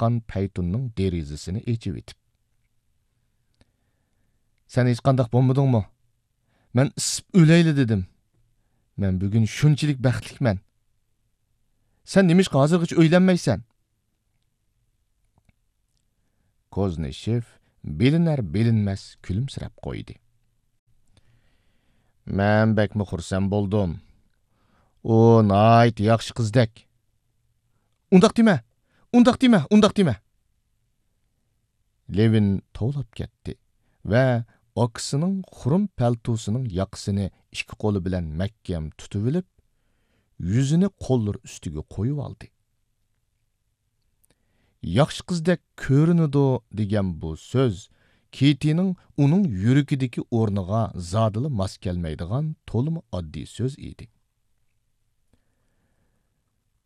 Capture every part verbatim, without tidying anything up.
ياققان پەيتۇننىڭ دېرىزىسىنى ئېچىۋېتىپ. سەن ھېچقانداق بولمىدىڭمۇ؟ مەن ئىسسىپ ئۆلەيلى دېدىم. مەن بۈگۈن شۇنچىلىك بەختلىكمەن. سەن نېمىشقا ھازىرغىچە ئۆيلەنمەيسەن؟ كوزنىشېف بىلىنەر-بىلىنمەس كۈلۈمسىرەپ قويدى. مەن بەكمۇ خۇرسەن بولدۇم. ئۇ ناھايىتى ياخشى قىزدەك. ئۇنداق دېمە! ئۇنداق دېمە! ئۇنداق دېمە! لېۋىن توۋلاپ كەتتى ۋە ئاكىسىنىڭ خۇرۇم پەلتوسىنىڭ ياقىسىنى ئىككى قولى بىلەن مەھكەم تۇتۇۋېلىپ، يۈزىنى قوللىرى ئۈستىگە قويۇۋالدى. ياخشى قىزدەك كۆرۈنىدۇ دېگەن بۇ سۆز كېتىنىڭ ئۇنىڭ يۈرىكىدىكى ئورنىغا زادىلا ماس كەلمەيدىغان تولىمۇ ئاددىي سۆز ئىدى.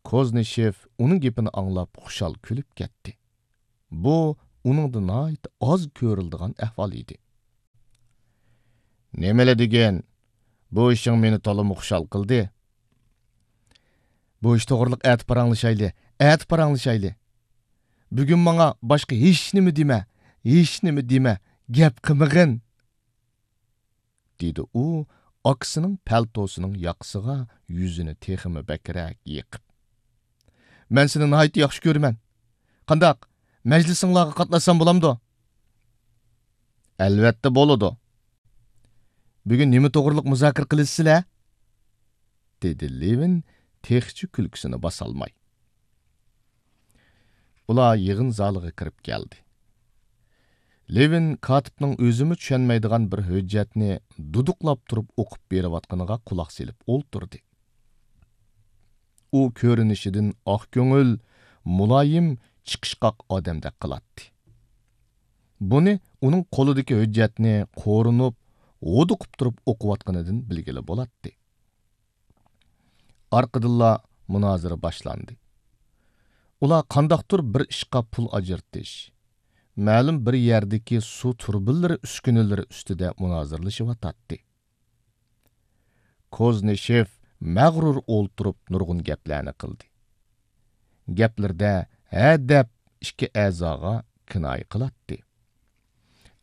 كوزنىشېف ئۇنىڭ گېپىنى ئاڭلاپ خۇشال كۈلۈپ كەتتى. بۇ ئۇنىڭدا ناھايىتى ئاز كۆرۈلىدىغان ئەھۋال ئىدى. نېمىلا دېگىن، بۇ ئىشىڭ مېنى تولىمۇ خۇشال قىلدى. بۇ ئىش توغرىلىق ئەتە پاراڭلىشايلى، ئەتە پاراڭلىشايلى. بۈگۈن ماڭا باشقا ھېچنېمە دېمە، ھېچنېمە دېمە، گەپ قىلمىغىن. دېدى ئۇ ئاكىسىنىڭ پەلتوسىنىڭ ياقىسىغا يۈزىنى تېخىمۇ بەكرەك يېقىپ. مەن سېنى ناھايىتى ياخشى كۆرىمەن. قانداق، مەجلىسىڭلارغا قاتناشسام بولامدۇ؟ ئەلۋەتتە بولىدۇ. بۈگۈن نېمە توغرىلىق مۇزاكىرە قىلىسىلەر؟ دېدى لېۋىن تېخىچە كۈلكىسىنى باسالماي. ئۇلار يىغىن زالىغا كىرىپ كەلدى. لېۋىن كاتىپنىڭ ئۆزىمۇ چۈشەنمەيدىغان بىر ھۆججەتنى دۇدۇقلاپ تۇرۇپ ئوقۇپ بېرىۋاتقىنىغا قۇلاق سېلىپ ئولتۇردى. ئۇ كۆرۈنۈشىدىن ئاق كۆڭۈل، مۇلايىم، چىقىشقاق ئادەمدەك قىلاتتى. بۇنى ئۇنىڭ قولىدىكى ھۆججەتنى قورۇنۇپ، ھودۇقۇپ تۇرۇپ ئوقۇۋاتقىنىدىن بىلگىلى بولاتتى. ئارقىدىنلا مۇنازىرە باشلاندى. ئۇلار قانداقتۇر بىر ئىشقا پۇل ئاجرىتىش، مەلۇم بىر يەردىكى سۇ تۇرۇبىلىرى ئۈسكۈنىلىرى ئۈستىدە مۇنازىرىلىشىۋاتاتتى. كوزنىشېف مەغرۇر ئولتۇرۇپ نۇرغۇن گەپلەرنى قىلدى. گەپلىرىدە ھە دەپ ئىككى ئەزاغا كىنايە قىلاتتى.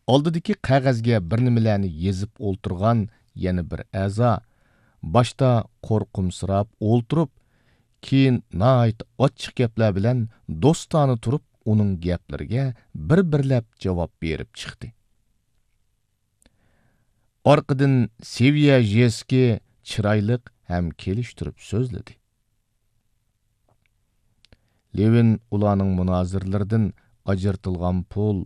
ئالدىدىكى قەغەزگە بىر نېمىلەرنى يېزىپ ئولتۇرغان يەنە بىر ئەزا باشتا قورقۇمسىراپ ئولتۇرۇپ، كېيىن ناھايىتى ئاچچىق گەپلەر بىلەن دوستانە تۇرۇپ ئۇنىڭ گەپلىرىگە بىر-بىرلەپ جاۋاب بېرىپ چىقتى. ئارقىدىن سېۋيەژېسكىي چىرايلىق ھەم كېلىشتۈرۈپ سۆزلىدى. لېۋىن ئۇلارنىڭ مۇنازىرىلىرىدىن ئاجرىتىلغان پۇل،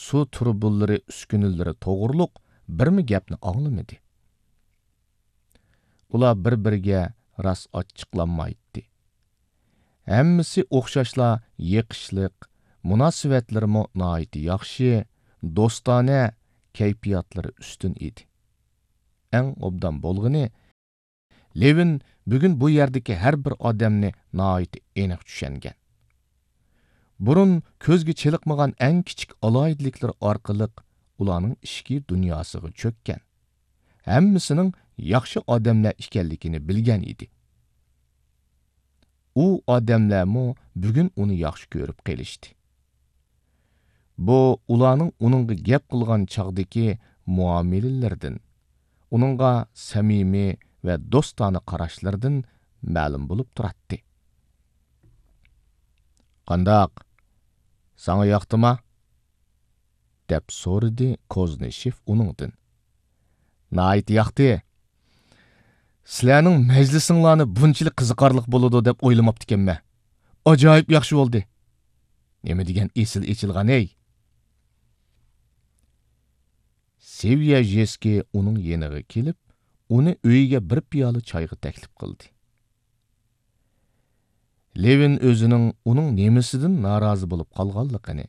سۇ تۇرۇبىلىرى ئۈسكۈنىلىرى توغرۇلۇق بىرمۇ گەپنى ئاڭلىمىدى. ئۇلار بىر-بىرىگە راست ئاچچىقلانمايتتى. ھەممىسى ئوخشاشلا يېقىشلىق، مۇناسىۋەتلىرىمۇ ناھايىتى ياخشى، دوستانە، كەيپىياتلىرى ئۈستۈن ئىدى. ئەڭ ئوبدان بولغىنى، لېۋىن بۈگۈن بۇ يەردىكى ھەر بىر ئادەمنى ناھايىتى ئېنىق چۈشەنگەن. بۇرۇن كۆزگە چېلىقمىغان ئەڭ كىچىك ئالاھىدىلىكلىرى ئارقىلىق ئۇلارنىڭ ئىچكى دۇنياسىغا چۆككەن. ھەممىسىنىڭ ياخشى ئادەملەر ئىكەنلىكىنى بىلگەن ئىدى. ئۇ ئادەملەرمۇ بۈگۈن ئۇنى ياخشى كۆرۈپ قېلىشتى. بۇ ئۇلارنىڭ ئۇنىڭغا گەپ قىلغان چاغدىكى مۇئامىلىلىرىدىن، ئۇنىڭغا سەمىمىي ۋە دوستانە قاراشلىرىدىن مەلۇم بولۇپ تۇراتتى. «قانداق؟ ساڭا ياقتىما؟» دەپ سورىدى كوزنىشېف ئۇنىڭدىن. «ناھايىتى ياقتى. سىلەرنىڭ مەجلىسىڭلارنى بۇنچىلىك قىزىقارلىق بولىدۇ دەپ ئويلىماپتىكەنمەن. ئاجايىپ ياخشى بولدى. نېمە دېگەن ئېسىل ئېچىلغان ھەي!» سېۋيەژېسكىي ئۇنىڭ يېنىغا كېلىپ، ئۇنى ئۆيىگە بىر پىيالە چايغا تەكلىپ قىلدى. لېۋىن ئۆزىنىڭ ئۇنىڭ نېمىسىدىن نارازى بولۇپ قالغانلىقىنى،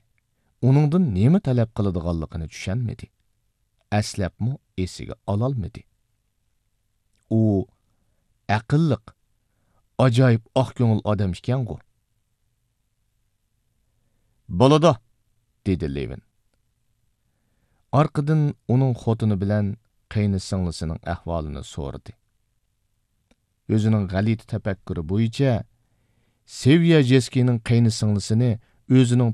ئۇنىڭدىن نېمە تەلەپ قىلىدىغانلىقىنى چۈشەنمىدى. ئەسلەپمۇ ئېسىگە ئالالمىدى. ئۇ ئەقىللىق، ئاجايىپ ئاق كۆڭۈل ئادەم ئىكەنغۇ. «بولىدۇ،» دېدى لېۋىن. ئارقىدىن ئۇنىڭ خوتۇنى بىلەن قېينىسىڭلىسىنىڭ ئەھۋالىنى سورىدى. ئۆزىنىڭ غەلىتە تەپەككۇرى بويىچە، سېۋيەژېسكىينىڭ قېينىسىڭلىسىنى ئۆزىنىڭ